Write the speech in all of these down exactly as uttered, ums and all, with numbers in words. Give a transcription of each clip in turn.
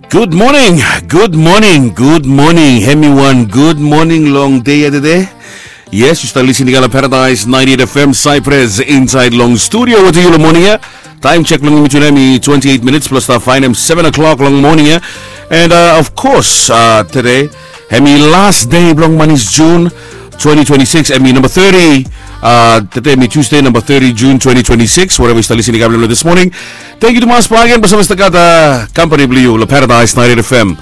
Gud moning, gud moning, gud moning. Hemi wan gud moning long dei ya tede. Yes, yu stap lisin i kam long Paradise ninety-eight F M Cyprus insaed long studio wetem yu long moning ya. Taem sek blong yumi tu nao hemi twenty-eight minits blong stap faenem seven o'clock long moning ya. And uh, of course, uh, tede hemi las dei blong manis Jun twenty twenty-six, hemi namba thirty. Uh, tede hemi Tuesday, namba thirty Jun twenty twenty-six. Wherever yu stap lisin i kam long this morning, tangkiu tumas bakegen blong save stap gat uh, kampani blong yu long Paradise ninety-eight F M.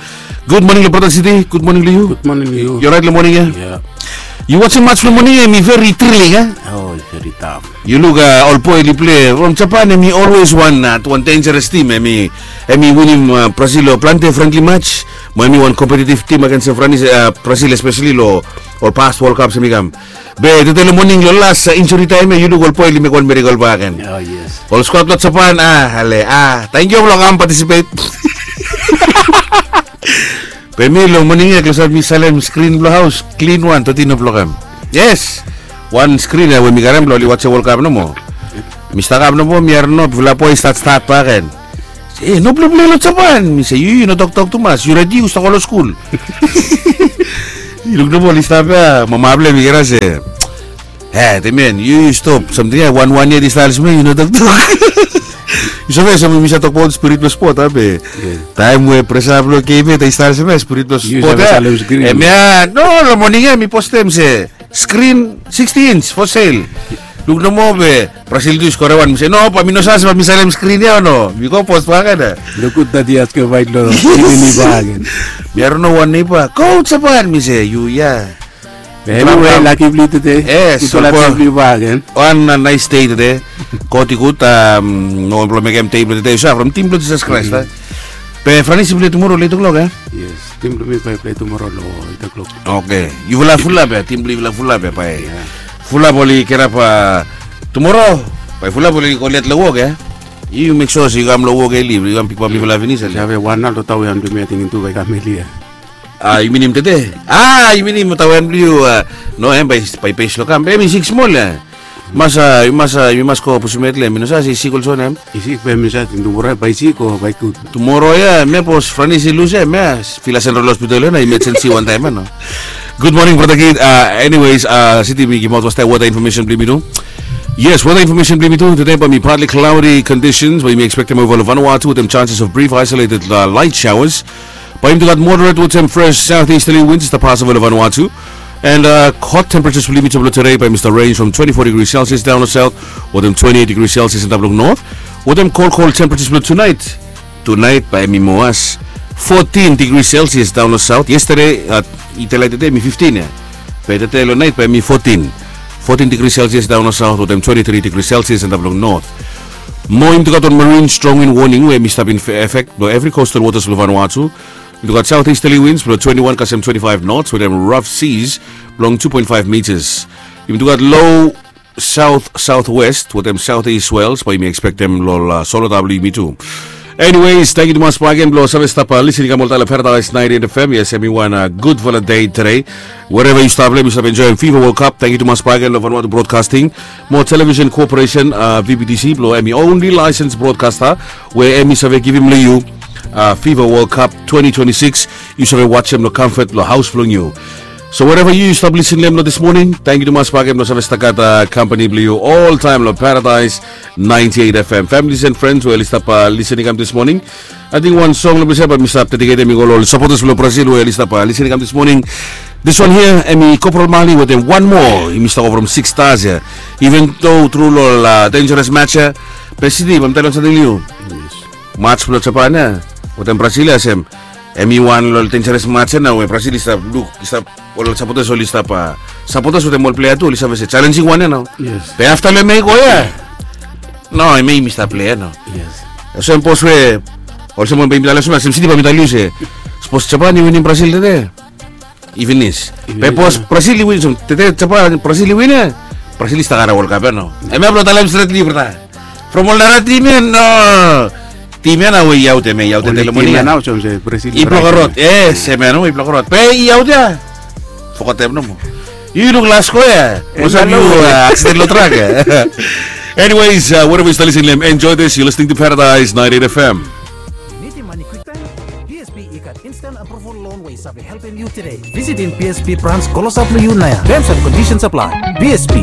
Gud moning long brata City. Gud moning long yu. Gud moning long yu. Yu oraet long moning ya? Yu wajem mats blong moning ya? Hemi veri thrilling, a? Oh, veri taf. Yu luk uh, ol boe oli plei from Japan, hemi always wan uh, wan dangerous team. Hemi hemi winim uh, Brazil long plante friendly match. Mo hemi wan competitive team against Franis, uh, Brazil, especially long ol past World Cups hemi kam. Be tede long moning long las uh, injuri taem ya, yu luk ol boe oli mekem wan miracle bakegen. Oh, yes. Ol squad blong Japan, a, ale, a, tangkiu blong kam participate. Be mi long moning ya klosap mi salem skrin blong haos, klin wan, thirteen o'clock em. Yes. Wan skrin ya we mi karem blong oli wajem World Cup nomo. Mi stap kam nomo, mi harim nao fulap boe i stat stat bakegen. Se, e, no blong plei long Japan. Mi se, yu, yu no toktok tumas, yu redi, yu stap go long skul. Yu luk nomo oli stap ya, mama blong hem i kera se, e, temen, yu, yu stop. Samting ya wan wan yet i stap smel, yu no toktok. Yu save, samting mi save tokbaot spirit blong spot, a, be taem we presa blong game ya i stap smel, spirit blong spot ya. Hemia, no, long moning ya mi postem se skrin sixty inch for sale. Luk nomo be Brazil tu i skore wan, mi se, no, bae mi no save se bae mi salem skrin ya o no. Mi go post bakegen. Luk gud that i askem bae long skrin i bakegen. Mi harim nao wan neiba, go Japan, mi se, yu ya. Be anyway, laki blong yu tede. Yes, gud laki blong yu bakegen. Wan uh, nice day tede. God i gud, um, no wan blong mekem dei blong tede. Yu save from tim blong Jisas Kraes, a? Be Franis i plei tumoro long eight o'clock, e? Yes, tim blong mi bae i plei tumoro long eight o'clock. Okay. Yufala fulap ya, tim blong yufala fulap ya, bae. Fulap oli kirap uh, tumoro, bae fulap oli go let long wok ya. Yu mek sua se yu kam long wok eli, yu kam pikapem yufala finis ya. Save wan nao long taoen blong mi, ating tu bae i kam eli ya. A, yu minim tede? A, yu minim taoen blong yu, a, no, hem bae, bae i pes long kam. Be hemi sik smol ya. Mas, a, yu mas, a, yu mas go pusum het long hem. Mi no save se i sik olsem wanem. I sik, be mi save ting tumoro bae i sik o bae i gud. Tumoro ya, hemia bos Franis i lus ya, hemia Villa Central Hospital ya nao, emergency wantaem ya nao. Gud moning brata Kid. Uh, anyways, uh, City, mi givim aot fastaem weather information blong yumi tu. Yes, weather information blong yumi tu. Tede bae hemi partly cloudy conditions, bae yumi ekspektem ova long Vanuatu wetem chances of brief isolated uh, light showers. Bae yumi tu gat moderate wetem fresh southeasterly winds i stap pas ova long Vanuatu. And uh, hot temperatures blong yumi tu blong tede bae hemi stap range from twenty-four degrees Celsius down long south wetem twenty-eight degrees Celsius antap long north. Wetem cold, cold temperatures blong tonight. Tonight bae hemi moa as fourteen degrees Celsius down long south. Yesterday, uh, i tede, tede hemi fifteen ya. Be tede long nait bae hemi fourteen. Fourteen degrees Celsius down long south wetem twenty-three degrees Celsius antap long north. Mo yumi tu gat wan marine strong wind warning we hemi stap in effect blong evri coastal waters blong Vanuatu. Yumi tu gat southeasterly winds blong twenty-one kasem twenty-five knots wetem rough seas blong two point five meters. Yumi tu gat low south southwest wetem southeast swells bae yumi ekspektem long ol uh, solota blong yumi tu. Anyways, tangkiu tumas bakegen blong save stap uh, lisin i kam oltaem long Paradise ninety-eight F M. Yes, hemi wan uh, gudfala dei tede. Wherever yu stap, long yu stap enjoem Fifa World Cup. Tangkiu tumas bakegen long Vanuatu Broadcasting mo Television Corporation, uh, V B T C, blong hemi only licensed broadcaster we hemi save givim long yu uh, Fifa World Cup twenty twenty-six. Yu save wajem long comfort blong haos blong yu. So wherever yu, yu stap lisin long hem long this morning, tangkiu tumas bakegen blong save stap gat uh, kampani blong yu oltaem long Paradise ninety-eight F M. Families and friends we oli stap uh, lisin i kam this morning. Ating wan song long ples ya bae mi stap dediketem i go long ol supporters blong Brazil we oli stap uh, lisin i kam this morning. This one here, hemi Corporal Mali wetem wan moa, hemi stap go from Six Stars ya. Even though tru long ol uh, dangerous match ya, be City, bae mi talem samting long yu. Match blong Japan ya wetem Brazil ya, sem hemi wan long ol dangerous match ya nao we Brazil i stap luk, i stap, ol supporters oli stap uh, supporters wetem ol plea tu oli save se challenging wan ya nao. Be afta long hemia i go ya, nao hemia yumi stap plei ya nao. Olsem bos we, olsem we bae mi talem olsem ya, sem City, bae mi talem yu se, sapos Japan i winim Brazil tede, i finis. Be bos Brazil i win, so tede Japan, Brazil i win ya, Brazil i stap karem World Cup ya nao. Hemia blong talem stret long yu, brata. From ol nara tim ya, no. Tim ya nao we i aot, hemia i aot tede long moning ya. I blok rod. Yes, hemia nao i blok rod. Be i aot ya. Fogetem nomo. Yu luk las go ya, olsem yu uh, aksiden long trak ya. Anyways, uh, wherever yu stap lisin long hem, enjoy this. You're listening to Paradise ninety-eight F M. BSP i gat instant approval loan we i save helpem yu today. Visitim BSP branch klosap long yu naoia. Terms and conditions apply. BSP,